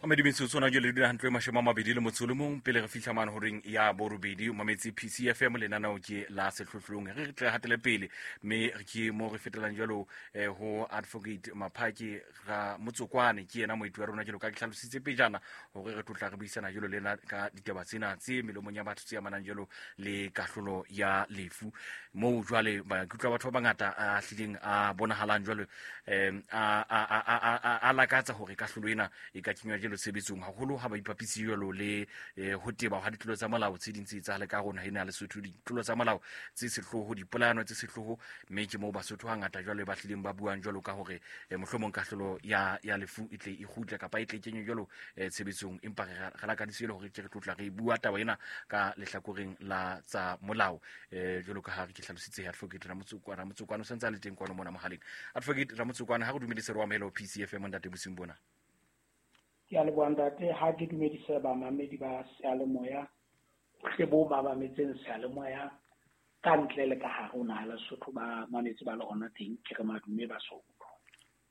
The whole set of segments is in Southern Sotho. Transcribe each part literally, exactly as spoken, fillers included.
Mamedi metsotso na jwale dula hantle mashome a mabedi le motso o le mong pele re fihla mane horeng ya borobedi. O mametse P C F M, lenaneo ke la sehlohlolong. Re re tle hatele pele mme re ke mo re fetelang jwalo, eh, ho Advocate Maphake Ramotsokwane, ke yena moeti wa rona jwalo ka ke hlalositse pejana hore re tlotla re buisana jwalo le yena ka ditaba tsena tse melomong ya batho tse amanang jwalo le kahlolo ya lefu, moo jwale maikutlo a batho ba bangata a hlileng a bonahalang jwalo, eh, a, a, a, a, a, a lakatsa hore kahlolo ena e ka kenywa jwalo tshebetsong, haholo ha ba ipapise jwalo le, eh, ho teba ha ditlolo tsa molao tse ding tse etsahale ka rona ena Lesotho, ditlolo tsa molao tse sehloho, dipolayano tse sehloho, mme ke moo Basotho hangata jwalo ba hlileng ba buang jwalo ka hore, eh, mohlomong kahlolo ya, ya lefu e tle e kgutle kapa e tle e kenywe jwalo, eh, tshebetsong. Empa re, re lakaditse jwalo hore ke re tlotla re bua taba ena ka lehlakoreng la tsa molao, eh, jwalo ka ha re ke hlalositse Advocate Ramotsokwane. Ramotsokwane o santse a le teng kwano mona mohaleng. Advocate Ramotsokwane, ha re dumedise re o amohele ho P C F M ntate bosiung bona. Ke a leboha ntate, ha ke dumedise bamamedi ba seyalemoya, bohle bo ba mametseng seyalemoya ka ntle le ka hare ho naha Lesotho, ba mametse ba le hona teng, ke re madume Basotho.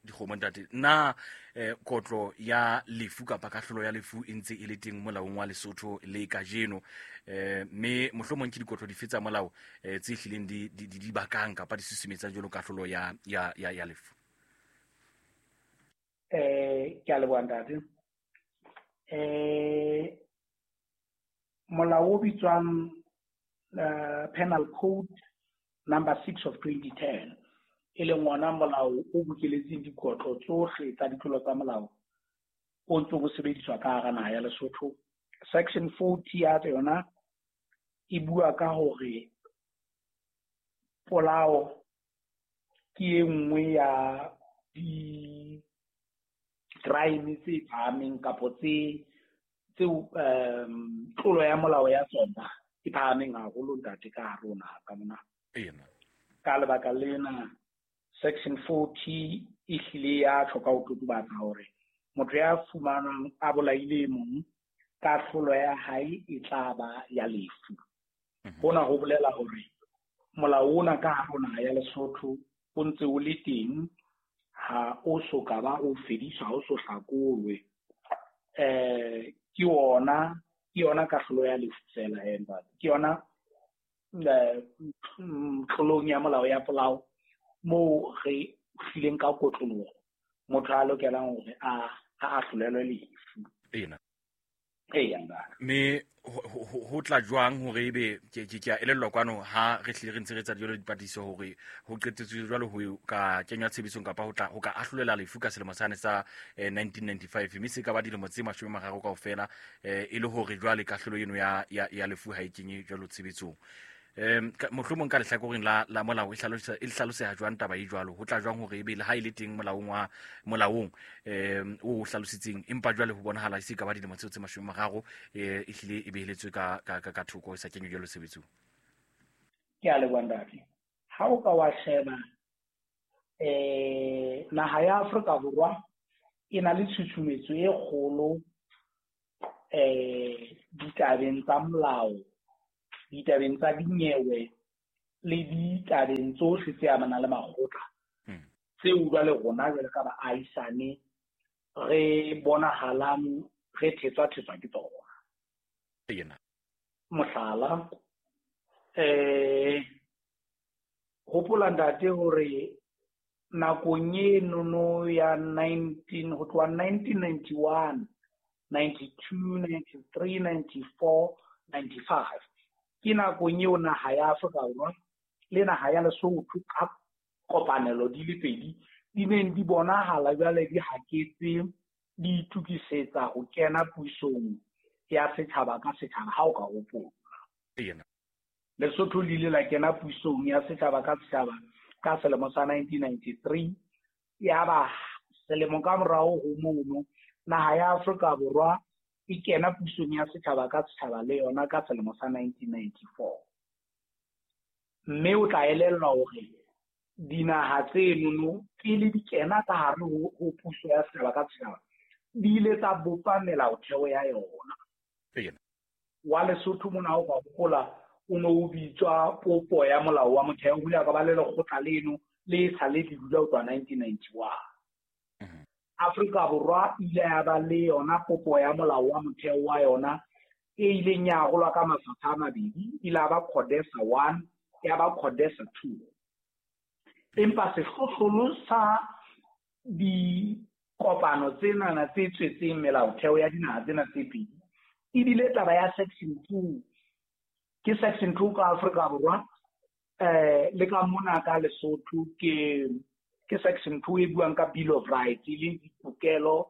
Dikgomo ntate, na, eh, kotlo ya lefu kapa kahlolo ya lefu e ntse e le teng molaong wa Lesotho le kajeno, eh, mme mohlomong ke dikotlo dife tsa molao, eh, tse hlileng di, di, di, di bakang kapa di susumetsang jwalo kahlolo ya, ya, ya, ya lefu? Eh, ke a leboha ntate. Eh, molao o bitswang, eh, Penal Code number six of twenty ten, e leng ona molao o bokeletseng dikotlo tsohle tsa ditlolo tsa molao o ntse o sebediswa ka hara naha ya Lesotho. Section forty ya yona e bua ka hore polao ke e nngwe ya di crime tse phahameng kapo tse, tseo, um, tlolo ya molao ya tsona e phahameng haholo ntate ka hare ho naha ka mona. Ena. Ka lebaka lena section forty e hlile ya hloka ho totobatsa hore motho ya fumanwang a bolaile e mong, kahlolo ya hae e tla ba ya lefu. Mhm. Hona ho bolela hore molao ona ka hare ho naha ya Lesotho o ntse o le teng, ha o so ka ba o fediswa, ha o so hlakolwe. Eh, ke yona, ke yona kahlolo ya lefu fela, eh, ntate. Ke yona, eh, mm, tlolong ya molao ya polao moo re hlileng ka kotloloho motho a lokelang hore a, a ahlolelwe lefu. Ena. Eya, ntate. Mme ho, ho, ho, ho tla jwang hore ebe ke, ke, ke a elellwa kwano ha re hlile re ntse re etsa jwalo dipatlisiso hore ho qetetswe jwalo ho ka kenywa tshebetsong kapa ho tla, ho ka ahlolela lefu ka selemo sane sa, eh, nineteen ninety-five, mme se ka ba dilemo tse mashome a mararo kaofela, eh, e le hore jwale kahlolo eno ya, ya, ya lefu ha e kenye jwalo tshebetsong. Em, ka, mohlomong ka lehlakoreng la, la molao e hlalosa, e hlaloseha jwang taba e jwalo? Ho tla jwang hore ebe le ha e le teng molaong wa, molaong, em, o hlalositseng, empa jwale ho bonahala e se ka ba dilemo tseo tse mashome a mararo, eh, e hlile e beheletswe ka, ka, ka, ka thoko, e sa kenywe jwalo tshebetsong? Ke a leboha ntate. Ha o ka wa sheba, eh, naha ya Afrika Borwa e na le tshusumetso e kgolo, eh, ditabeng tsa molao, ditabeng tsa dinyewe le ditabeng tsohle tse amanang le makgotla. Hmm. Tseo jwale rona jwale ka baahisane re bonahalang re thetswa-thetswa ke tsona. Ena. Mohlala, eh, hopola ntate hore nakong e nono ya nineteen, ho tloha nineteen ninety-one, ninety-two, ninety-three, ninety-four, ninety-five, ke nakong eo naha ya Afrika Borwa le naha ya Lesotho ka kopanelo di le pedi di neng di bonahala jwale di haketse, di itokisetsa ho kena pusong ya setjhaba ka setjhaba, ha o ka hopola. Ena. Lesotho le ile la kena pusong ya setjhaba ka setjhaba ka selemo sa nineteen ninety-three, yaba selemo ka morao ho mono naha ya Afrika Borwa e kena pusong ya setjhaba ka setjhaba le yona ka selemo sa nineteen ninety-four. Mme o tla elellwa hore dinaha tsenono pele di kena ka hare ho, ho puso ya setjhaba ka setjhaba di ile tsa bopa melaotheo ya yona. Ena. Wa Lesotho mona ha o ka hopola o no o bitswa popo ya molao wa motheo, ho ile ka ba le lekgotla leno le sa le le dula ho tloha nineteen ninety-one. Mhm. Afrika Borwa ile ya ba le yona popo ya molao wa motheo wa yona e ileng ya arolwa ka mafapha a mabedi, ile ya ba CODESA one ya ba CODESA two. Empa sehlohlolo sa dikopano tsenana tse tswetseng melaotheo ya dinaha tsena tse pedi ebile taba ya section two. Ke section two ka Afrika Borwa, eh le ka mona ka Lesotho ke ke section two e buang ka Bill of Rights, e leng ditokelo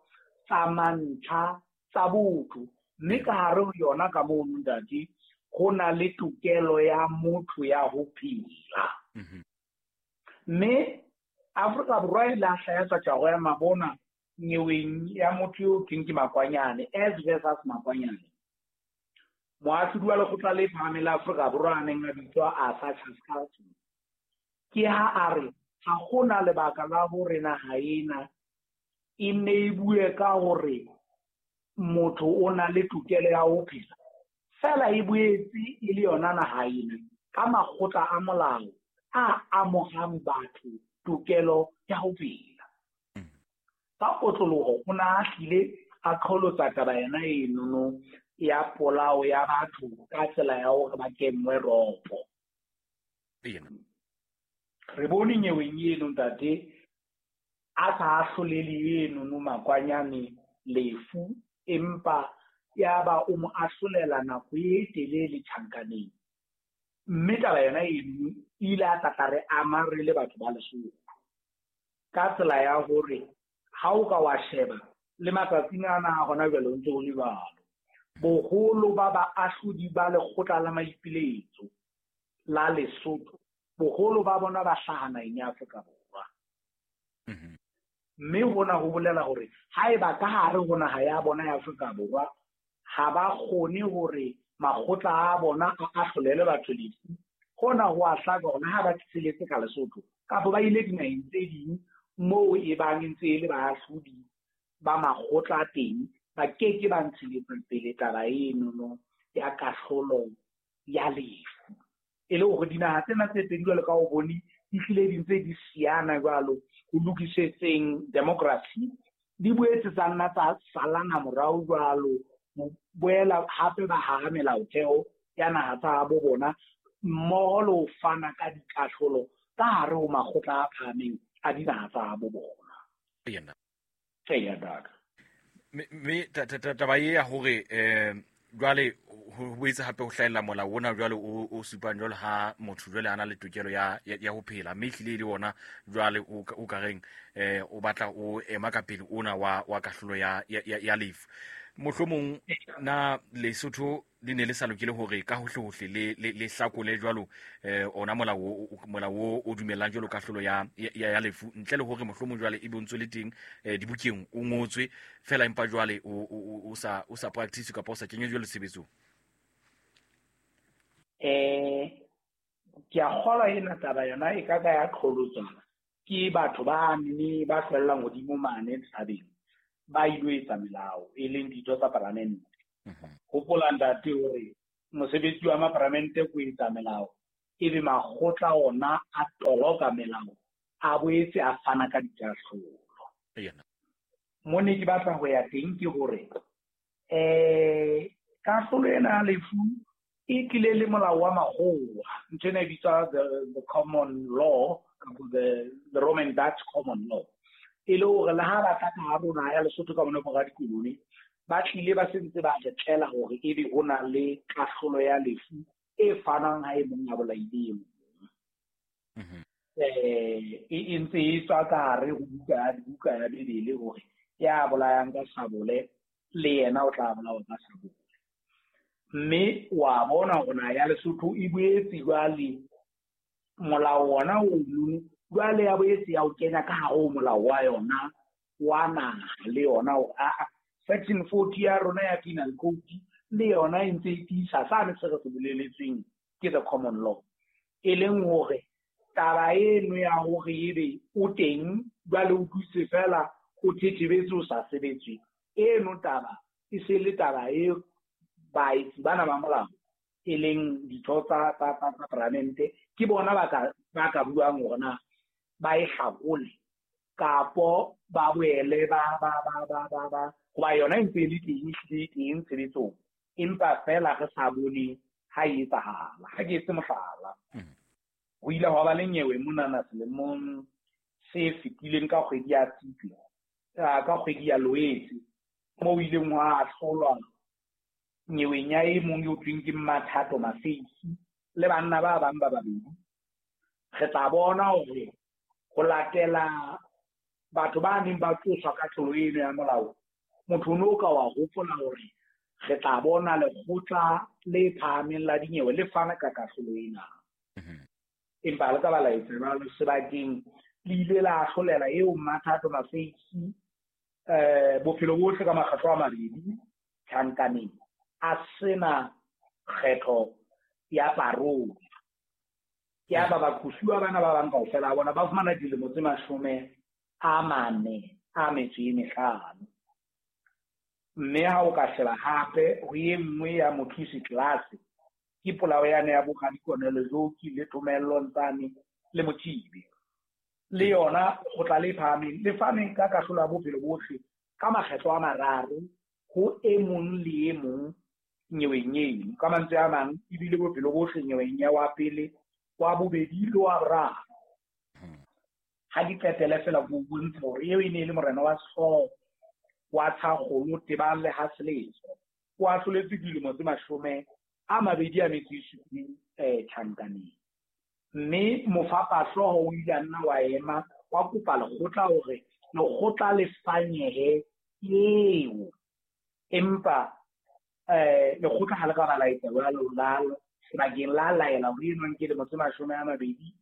tsa mantlha tsa botho. Mme ka hare ho yona ka mono ntate, ho na le tokelo ya motho ya ho phela. Mme Afrika Borwa e la hlaya tsa tjaro ya mabona nyeweng ya motho eo keng ke Makwanyane, S versus Makwanyane. Moahlodi wa lekgotla le phahameng la Afrika Borwa a neng a bitswa Arthur Chaskalson, ke ha a re ha hona lebaka la hore naha ena e nne e bue ka hore motho o na le tokelo ya ho phela, fela e boetse e le yona naha ena ka makgotla a molao a amohang batho tokelo ya ho phela. Ka kotloloho o na a hlile a qholotsa taba yena enono ya polao ya batho ka tsela ya hore ba kenngwe ropo. Re bone nyeweng eno ntate a sa ahlolele enono Makwanyane lefu, empa ya ba o mo ahlolela nako e telele tjhankaneng. Mme taba yona eno e ile ya tla re ama re le batho ba Lesotho ka tsela ya hore ha o ka wa sheba le matsatsing ana a hona jwale o ntse ho le jwalo. Boholo ba baahlodi ba lekgotla la maipiletso la Lesotho, boholo ba bona ba hlaha naheng ya Afrika Borwa. Mme hona ho bolela hore haeba ka hare ho naha ya bona ya Afrika Borwa ha ba kgone hore makgotla a bona a ahlolele batho lefu, hona ho a hlaka hore ha ba tseletse ka Lesotho kapa ba ile dinaheng tse ding moo e bang e ntse e le baahlodi ba makgotla teng, ba keke ba ntsheletsa pele taba enono ya kahlolo ya lefu. E le hore dinaha tsena tse pedi jwalo ka o bone di hlile di ntse di siyana jwalo ho lokisetseng democracy, di boetse tsa nna tsa salana morao jwalo ho boela hape ba haha melaotheo ya naha tsa bo bona mmoho le ho fana ka dikahlolo ka hare ho makgotla a phahameng a dinaha tsa bo bona. Eya, ntate. Mme taba e ya hore eh jwale ho boetse hape ho hlahella molao ona jwale o o supang jwale ha motho jwale a na le tokelo ya ya ho phela, mme ehlile e le ona jwale o ka reng eh o batla o ema ka pele ona wa wa kahlolo ya ya lefu. Mohlomong na Lesotho le ne le sa lokele hore ka hohle hohle le le hlakole jwalo eh ona molao molao o dumellang jwalo kahlolo ya ya lefu, ntle le hore mohlomong jwale e bontswe le teng dibukeng o ngotswe fela, empa jwale o o sa o sa practice kapa o sa kenywe jwalo tshebetsong? Eh ke a kgolwa ena taba yona e ka ka ya qholotswana ke batho ba nne ba hlwellang hodimo mane thabeng ba ilo etsa melao e leng ditho tsa palamente. Hopola ntate hore mosebetsi wa mapalamente ko etsa melao, ebe makgotla ona a toloka melao a boetse a fana ka dikahlolo. Mo ne ke batla ho ya teng ke hore eh kahlolo ena ya lefu e tlile le molao wa makgowa, ntho ena e bitswa the, the common law kapa the, the Roman Dutch common law. E le hore le ha ba tla ka hare ho naha ya Lesotho ka mona mora dikolone, ba tlile ba sentse ba re tlela hore ebe ho na le kahlolo ya lefu e fanang ha e mong a bolaile e mong. Eh e ntse e tswa ka hare ho buka ya buka ya Bibele hore ya bolayang ka sabole le yena o tla bolawa ka sabole. Mme wa bona hore naha ya Lesotho e boetse jwale molao ona ono jwale ya boetse ya o kenya ka hare ho molao wa yona wa naha le yona hore aa section forty ya rona ya penal code le yona e ntse e tiisa sane se re se boleletsweng ke the common law, e leng hore taba eno ya hore ebe o teng jwale o dutse fela o thethebetse o sa sebetswe, eno taba e se le taba e baetsi bana ba molao e leng ditho tsa tsa tsa palamente ke bona ba ka ba ka buang hore na ba e hlakole Kapo ba boele ba ba ba ba ba ba hoba yona e ntse e le teng, ehlile e teng tshebetsong, empa feela re sa bone ha e etsahala. Ha ke etse mohlala, ho ile hwa ba le nyewe monana selemong se fetileng ka kgwedi ya Tshitwe, ka kgwedi ya Loetse, moo ileng hwa ahlolwa nyeweng ya e mong eo thweng ke Mathato Mafeisi le banna ba bang ba babedi. Re tla bona hore ho latela batho ba neng ba qoswa ka tlolo eno ya molao, motho o no ka wa hopola hore re tla bona lekgotla le phahameng la dinyewe le fana ka kahlolo ena. Empa le ka ba la etsa jwalo sebakeng, le ile la ahlolela eo Mathato Mafeisi eh bophelo bohle ka makgetlo a mabedi tjhankaneng, a sena kgetho ya parole. Ke ba baqosuwa bana ba bang kaofela a bona ba fumana dilemo tse mashome a mane a metso e mehlano. Mme ha o ka sheba hape ho e nngwe ya Mothusi Class, ke polao yane ya bo Radikonelo Joki le Thomello Ntsane le Mothibe, le yona kgotla le phahameng le fane ka kahlolo ya bophelo bohle ka makgetlo a mararo ho e mong le e mong nyeweng eno. Ka mantswe a mang, ebile bophelo bohle nyeweng ya wa pele, wa bobedi le wa boraro. Ha di qetele fela ho bontsha hore eo e ne e le morena wa sehlooho wa Tshakgolo tebang le ha Seletso, o ahloletswe dilemo tse mashome a mabedi a metso e supileng eh tjhankaneng. Mme mofapahlooho o ile a nna wa ema wa kopa lekgotla hore lekgotla le fanyehe eo, empa eh lekgotla ha le ka ba la etsa jwalo, la sebakeng la laela hore eno nke dilemo tse mashome a mabedi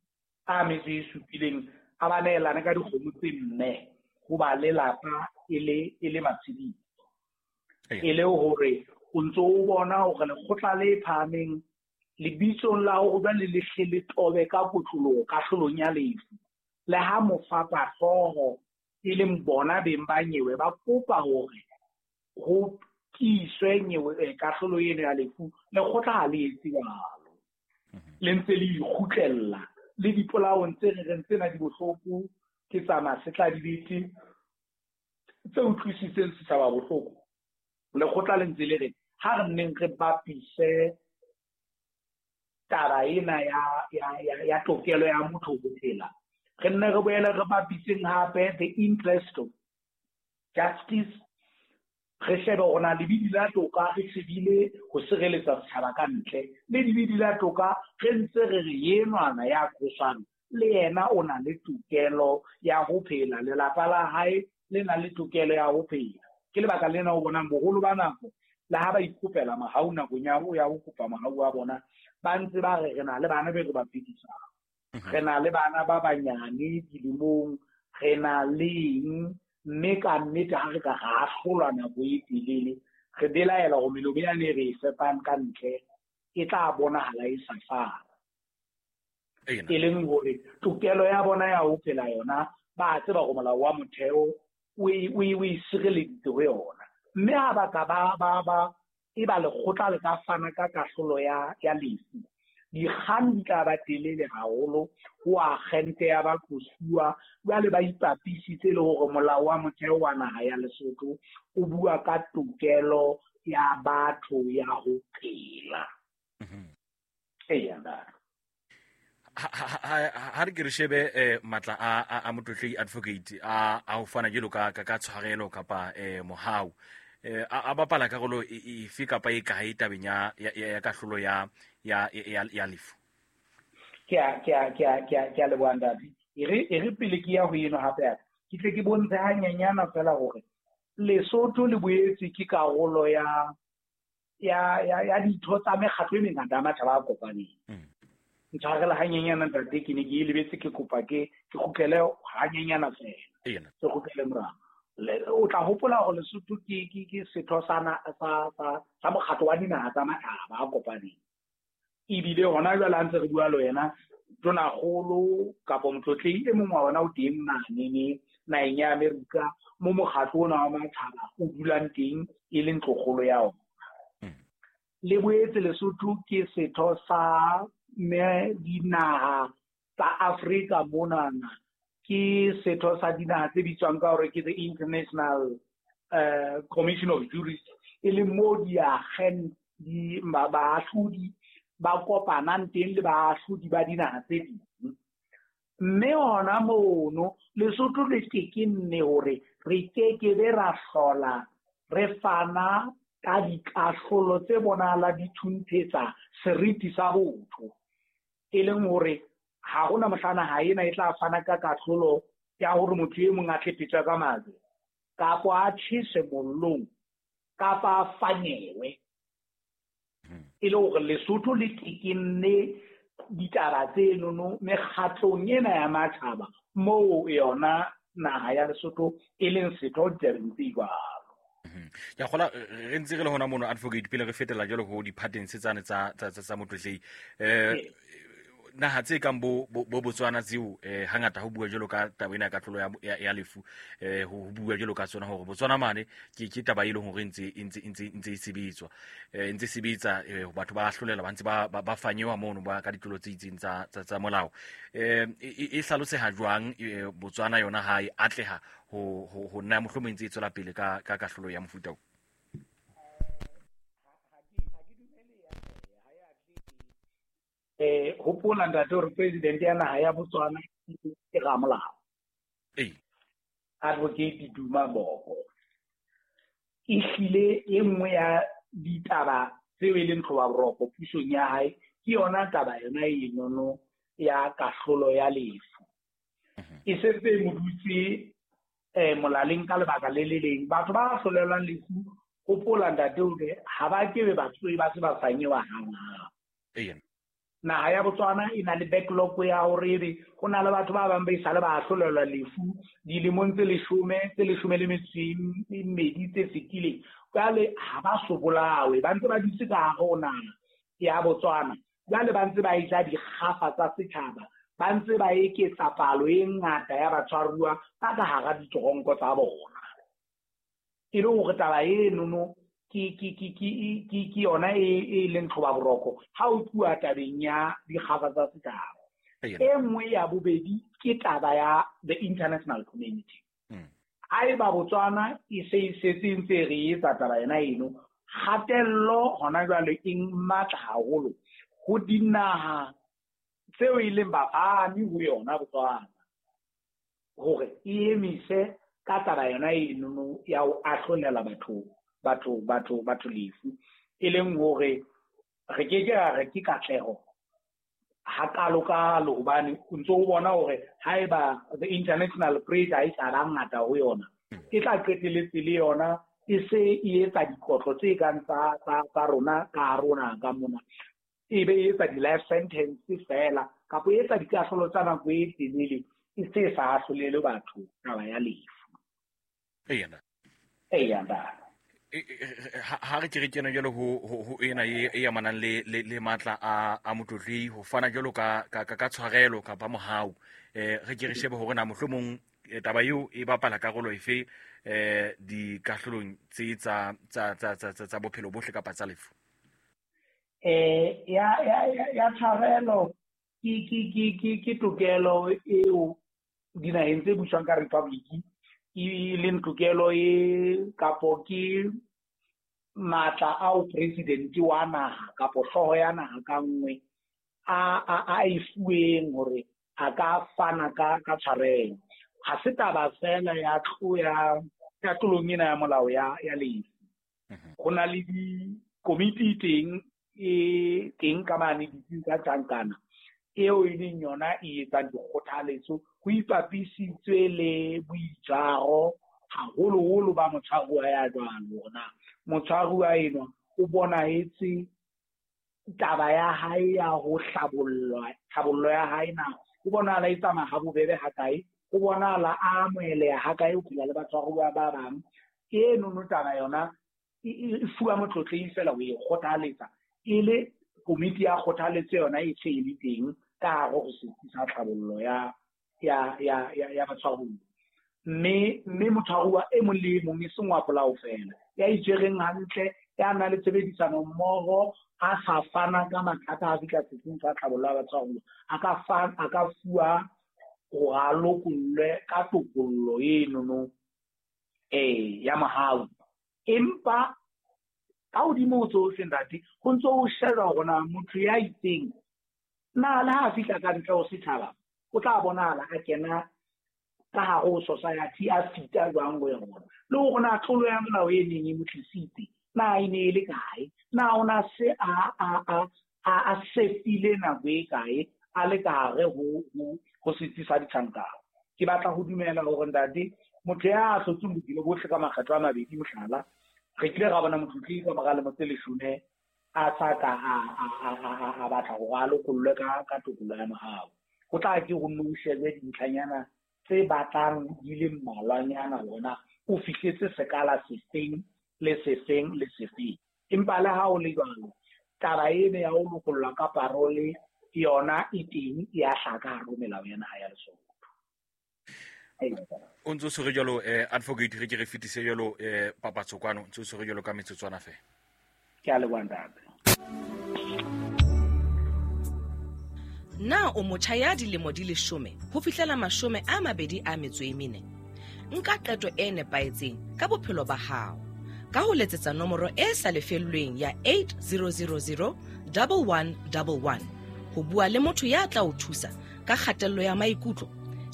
a metso e supileng a ba neelane ka dikgomo tse nne ho ba lelapa e le e le matshediso. E le hore o ntso o bona hore lekgotla le phahameng lebitsong la hore jwale le hle le tobe ka kotloloho kahlolong ya lefu, le ha mofapahlooho e leng bona beng ba nyewe ba kopa hore ho tiiswe nyewe kahlolo eno ya lefu, lekgotla ha le etse jwalo, le ntse le ikgutlella le dipolaong tse re reng tsena di bohloko, ke tsa masetladibete tse utlwisitseng setjhaba bohloko. Lekgotla le ntse le re ha re nneng re bapise taba ena ya ya ya ya tokelo ya motho ho phela, re nne re boele re bapiseng hape the interest of justice, re shebe hore na lebidi la toka re shebile ho sireletsa setjhaba ka ntle, le lebidi la toka re ntse re re enwana ya qoswang le yena o na le tokelo ya ho phela, lelapa la hae le na le tokelo ya ho phela. Ke lebaka lena o bonang boholo ba nako le ha ba ikopela mahau nakong ya ho ya ho kopa mahau a bona, ba ntse ba re re na le bana be re ba phedisang, re na le bana ba banyane dilemong, re na le eng, mme ka nnete ha re ka ra ahlolwa nako e telele, re belaela hore melomo yane re e fepang ka ntle e tla bonahala e sa fana. E leng hore tokelo ya bona ya ho phela yona ba tseba hore molao wa motheo o e o e sireleditse ho yona. Mme ha ba ka ba ba ba e ba lekgotla le ka fana ka kahlolo ya ya lefu, dikgang di tla ba telele haholo ho akgente ya baqosuwa. Jwale ba ipapisitse le hore molao wa motheo wa naha ya Lesotho o bua ka tokelo ya batho ya ho phela. Eya, ntate. Ha re ke re shebe matla a a Motlotlei advocate a a ho fana jwalo ka ka tshwarelo kapa mohau, a bapala karolo efe kapa e kae tabeng ya ya kahlolo ya ya ya lefu? Ke a ke a ke a ke a ke a leboha ntate. E re e re pele ke ya ho eno hape ke tle ke bontshe hanyenyana fela hore Lesotho le boetse ke karolo ya ya ya ya ditho tsa mekgatlo e mengata ya matjhaba a kopaneng. Ntshwarela hanyenyana ntate, ke ne ke e lebetse, ke kopa ke ke kgutlele hanyenyana fela, ke kgutlele morao. O tla hopola hore Lesotho ke ke ke setho sa sa sa sa mokgatlo wa dinaha tsa matjhaba a kopaneng. Ebile hona jwale ha ntse re bua le wena, Tonakgolo kapa Motlotlei e mong wa ona o teng mane naheng ya Amerika mo mokgatlo ona wa matjhaba o dulang teng e leng ntlokgolo ya ona. Le boetse Lesotho ke setho sa me dinaha tsa Afrika monana ke setho sa dinaha tse bitswang ka hore ke the International uh, Commission of Jurists, e leng moo diakgen di baahlodi ba kopanang teng le baahlodi ba dinaha tse ding. Mme hona mono Lesotho le tekenne hore re kekebe ra hlola re fana ka dikahlolo tse bonahala di thunthetsa seriti sa botho, e leng hore ha hona mohla naha ena e tla fana ka kahlolo ya hore motho e mong a tlepetswe ka majwe kapa a tjheswe mollong kapa a fanyewe. E le hore Lesotho le tekenne ditaba tsenono mekgatlong ena ya matjhaba moo yona naha ya Lesotho e leng setho ditabeng tse jwalo. Ke a kgola re ntse re le hona mono advocate pele re fetela jwalo ho di-patents tsane tsa tsa tsa Motlotlei. Eh naha tse kang bo bo Botswana tseo eh hangata ho bua jwalo ka taba ena ya kahlolo ya ya lefu, eh ho bua jwalo ka tsona hore Botswana mane ke ke taba e leng hore ntse ntse ntse ntse e sebetswa, eh ntse sebetsa, batho ba ahlolela ba ntse ba ba fanyewa mono ba ka ditlolo tse itseng tsa tsa tsa molao. Eh e hlaloseha jwang Botswana yona ha e atleha ho ho ho nna mohlomong ntse e tswela pele ka ka kahlolo ya mofuta o? Eh hopola ntate hore president ya naha ya Botswana ke ramolao. Eh Advocate Duma Boko. Ehlile e nngwe ya ditaba tseo e leng tlhoba boroko pusong ya hae ke yona taba yona enono ya kahlolo ya lefu. E sentse e mo dutse eh molaleng ka lebaka le le leng. Batho ba ahlolelwang lefu, hopola ntate hore ha ba kebe ba tsoe ba se ba fanyewa hanghang. Eh Naha ya Botswana e na le backlog ya hore ebe ho na le batho ba bang ba isale ba ahlolelwa lefu dilemong tse leshome tse leshome le metso e mmedi tse fetileng. Jwale ha ba so bolawe, ba ntse ba dutse ka hare ho naha ya Botswana. Jwale ba ntse ba eja dikgafa tsa setjhaba, ba ntse ba eketsa palo e ngata ya batshwaruwa ba ka hara ditoronko tsa bona. E le hore taba enono ke ke ke ke ke ke yona e e leng tlhoba boroko ha o tluwa tabeng ya dikgafa tsa setjhaba. E nngwe ya bobedi ke taba ya the international community. Haeba Botswana e se e setse ntse re etsa taba ena eno, kgatello hona jwale e matla haholo ho dinaha tseo e leng bafani ho yona Botswana hore e emise ka taba yona eno ya ho ahlolela batho batho batho batho lefu, e leng hore re ke ke ra re ke katleho hakalokalo, hobane o ntso o bona hore haeba the international pressure e sa ba ngata ho yona, e tla qetelletse le yona e se e etsa dikotlo tse kang tsa tsa tsa rona ka rona ka mona, e be e etsa di-life sentence fela kapa e etsa dikahlolo tsa nako e telele e se sa ahlolele batho taba ya lefu. Eya Eya ntate. Ha re ke re kena jwalo ho ho ena e e amanang le le le matla a a Motlotlei ho fana jwalo ka ka ka tshwarelo kapa mohau, eh re ke re shebe hore na mohlomong taba eo e bapala karolo efe eh dikahlolong tse tsa tsa tsa tsa tsa bophelo bohle kapa tsa lefu. Eh ya ya ya tshwarelo ke ke ke ke ke tokelo eo dinaheng tse buswang ka republic e leng tokelo e kapo ke matla ao president wa naha kapo hlooho ya naha ka nngwe a a a e fuweng hore a ka fana ka ka tshwarelo. Ha se taba fela ya tlo ya ya tlolong ena ya molao ya ya lefu. Ho na le dikomiti teng e teng ka mane ditsing tsa tjhankana eo e leng yona e etsang dikgothaletso ho ipapisitswe le boitjaro haholoholo ba motshwaruwa ya jwalo, hore na motshwaruwa enwa o bonahetse taba ya hae ya ho hlabollwa, tlhabollo ya hae na o bonahala e tsamaya ha bobebe hakae, o bonahala a amoheleha hakae ho phela le batshwaruwa ba bang. Enono taba yona e fuwa Motlotlei fela ho e kgothaletsa, e le komiti ya kgothaletso yona e se e le teng ka hare ho setsi sa tlhabollo ya ya ya ya ya batshwaruwa. Mme mme motshwaruwa e mong le e mong e seng wa polao fela, ya itshwereng hantle, ya nang le tshebedisano mmoho, a sa fana ka mathata a fihla setsing sa tlhabollo ya batshwaruwa, a ka fa a ka fuwa hore a lokollwe ka tokollo enono eh ya mohau. Empa ka hodimo ho tsohle ntate, ho ntso ho shejwa hore na motho ya itseng na le ha a fihla ka ntle ho setjhaba o tla bonahala a kena ka hare ho society a fita jwang ho yona, le hore na tlolo ya molao e neng e mo tlisitse na e ne e le kae, na o na se a a a a a sefile nako e kae a le ka hare ho ho ho setsi sa ditjhankana. Ke batla ho dumela hore ntate, motho ya hlotseng bophelo bohle ka makgetlo a mabedi, mohlala, re kile ra bona motlotlegi ka mora lemo tse leshome a sa ka a a a a batla hore a lokollwe ka ka tokollo ya mohau. Ho tla ke ho nno o shebe dintlhanyana tse batlang di le mmalwanyana hore na o fihletse sekala sefeng le sefeng le sefeng. Empa le ha o le jwalo, taba ena ya ho lokollwa ka parole yona e teng, e a hlaka hare ho melao ya naha ya Lesotho. O ntso tshwere jwalo eh advocate, re ke re fetise jwalo eh papatso kwano, ntso tshwere jwalo ka metsotswana feela. Ke a leboha ntate. Na o motjha ya dilemo di leshome ho fihlela mashome a mabedi a metso e mene? Nka qeto e nepahetseng ka bophelo ba hao ka ho letsetsa nomoro e sa lefellweng ya eight zero zero zero one one one one ho bua le motho ya tla o thusa ka kgatello ya maikutlo,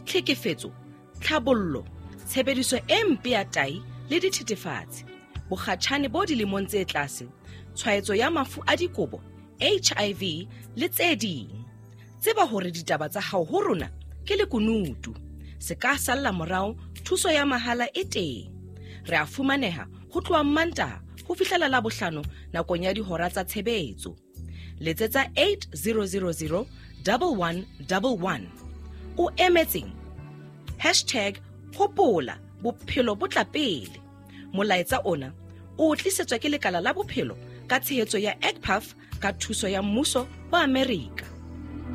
tlhekefetso, tlhabollo, tshebediso e mpe ya tahi le dithethefatsi, bokgatjhane bo dilemong tse tlase, tshwaetso ya mafu a dikobo, H I V le tse ding. Tseba hore ditaba tsa hao ho rona ke lekunutu. Se ka salla morao, thuso ya mahala e teng. Re a fumaneha ho tloha Mantaha ho fihlela Labohlano nakong ya dihora tsa tshebetso. Letsetsa eight zero zero zero one one one one. O emetseng? Hashtag hopola bophelo bo tla pele. Molaetsa ona o tlisetswa ke lekala la bophelo ka tshehetso ya E C P A F ka thuso ya mmuso wa Amerika.